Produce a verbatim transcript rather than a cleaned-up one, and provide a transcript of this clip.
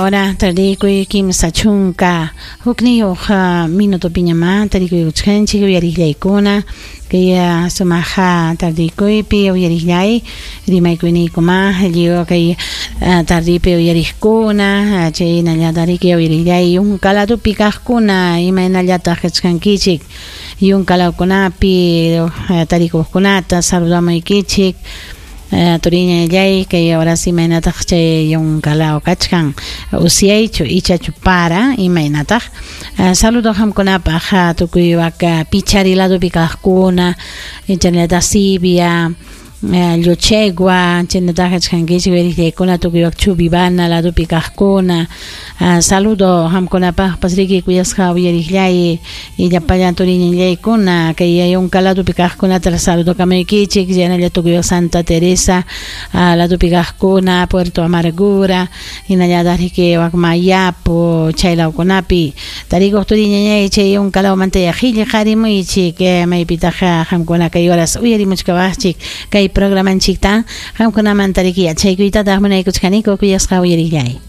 hora tarikuy kimsa chunka hukniyuq minutopiñamá tarikuykuchkanchik uyariqllaykuna kay sumaqa tardikuypi uyariqllay rimaykuyniykuma lliw kay tardipi uyariqkuna chaynallataq uyariqllay yunka ladopi kaqkuna imaynallataq kachkankichik yunka lawkunapi tarikuqkunata saludamuykichik turiñallay kay horas imaynataq chay yunka law kachkan usyaychu ichachu para imaynataq saludo qamkunapaq tukuy waka pichari ladopi kaqkuna chaynallataq Sibia Llochegua chaynataq kachkankichik uyariqllaykuna tukuy wak Chubibana ladopi kaqkuna saludo qamkunapaqpas riki kuyasqa uyariqllay llapallan turiñallaykuna kay yunka ladopi kaqkunata saludo kamaykichik chaynalla tukuy wak Santa Teresa ladopi kaqkuna Puerto Amargura hinallataq riki wak Mayapo chay lawkunapi tarikuq turiñañay chay yunka lawmanta qillqarimuychik maypitaq qamkuna kay horas uyarimuchkawaqchik kay programanchikta qamkunamanta riki yachaykuytataq munaykuchkaniku kuyasqa uyariqllay.